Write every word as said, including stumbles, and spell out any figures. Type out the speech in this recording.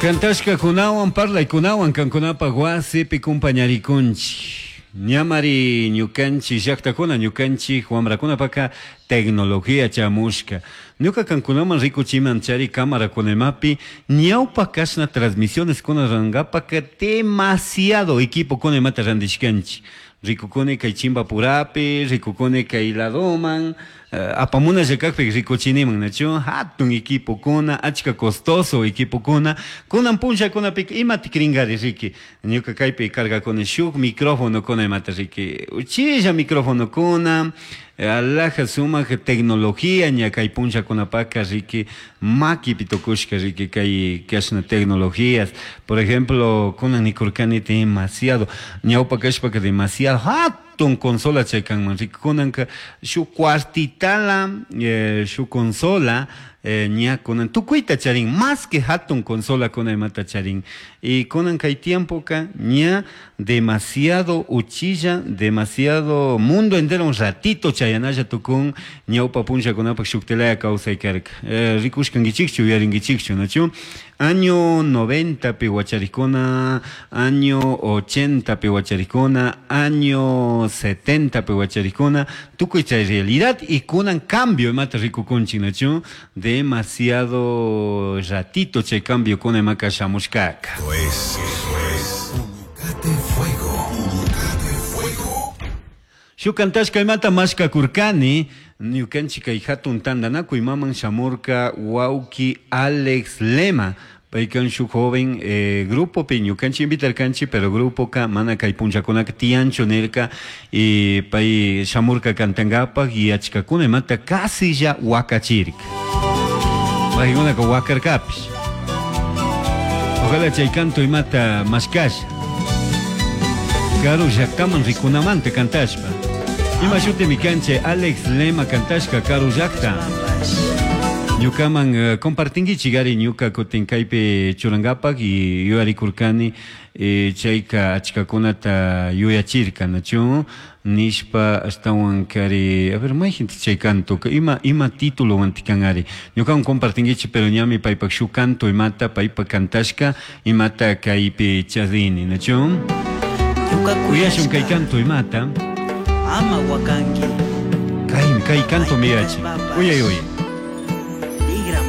Cantashkakunawan parlaykunawan kankunapaq wasipi kumpañarikunchik. Ñamari ñukanchik llaqtakuna ñukanchik wamrakunapaka tecnología chamushka. Ñuka kankunaman rikuchiman chari cámara-kunamapi ñawpa kashna transmisiones kuna rurankapak demasiado equipo kunamata randishkanchik. Rikukuni kay Chimpapurapi, rikukuni kay ladoman, apamunalla kakpi rikuchiniman, nachu? Hatun equipokuna, achka costoso equipokuna, kunan punllakunapika imata kringari riki. Ñuka kaypi cargakuni shuk microfonokuna imata riki. Uchilla microfonokuna, alhaja sumak tecnología ña kay punllakunapaka riki makipi tukushka riki kay kashna tecnologías. Por ejemplo, kunan nikurkani demasiado, ñawpa kashpaka demasiado hatun consola chay kanman riki kunanka shuk cuartitala eh, shuk consola eh, ña kunan tukuyta charin más que hatun consola kuna imata charin. Y kunan kay tiempoka ña demasiado uchilla, demasiado mundo entero un ratito chayanalla tukun ñawpa punllakunapak shuktilaya kawsay karka. Eh, rikushkankichikchu yuyarinkichikchu, nachu? Año noventa pi wacharikuna, año ochenta pi wacharikuna, año setenta pi wacharikuna, tukuy chay realidad y kunan cambio imata rikukunchik, nachu? Demasiado ratito chay cambio kuna imaka shamushkaka. Esto es, esto es Unicate Fuego, Unicate Fuego. Shuk kantashka imata mashkakurkani, ñukanchik kay hatun tantanakuy maman shamurka wawki Alex Lema. Paykan shuk joven eh, grupopi ñukanchik invitarkanchik, pero grupoka mana kay punllakunaka tiyanchu nirka, y pay shamurka kantankapak y achkakuna imata casi ya wakachirka. Paykunaka wakarkapish. Ojalá chay canto imata mashkasha. Karu llaktaman rikunamanta kantashpa. Ima shutimi kanchik Alex Lema kantashka karu llakta. Ñukaman uh, compartinkichik ari ñuka kutin kaypi churankapak y yuyarikurkani eh, chayka achkakunata yuyachirka, nachu? Nishpa ashtawan kari, a ver, mayjinta chay canto, ima, ima título wantikan ari. Ñukawan compartinkichik, pero ñami paypak shuk canto imata paypak kantashka imata kaypi charini, nachu? Uyashun kay canto imata. Ama wakanki. Kay, kay canto miyachi. Uyay, uyay.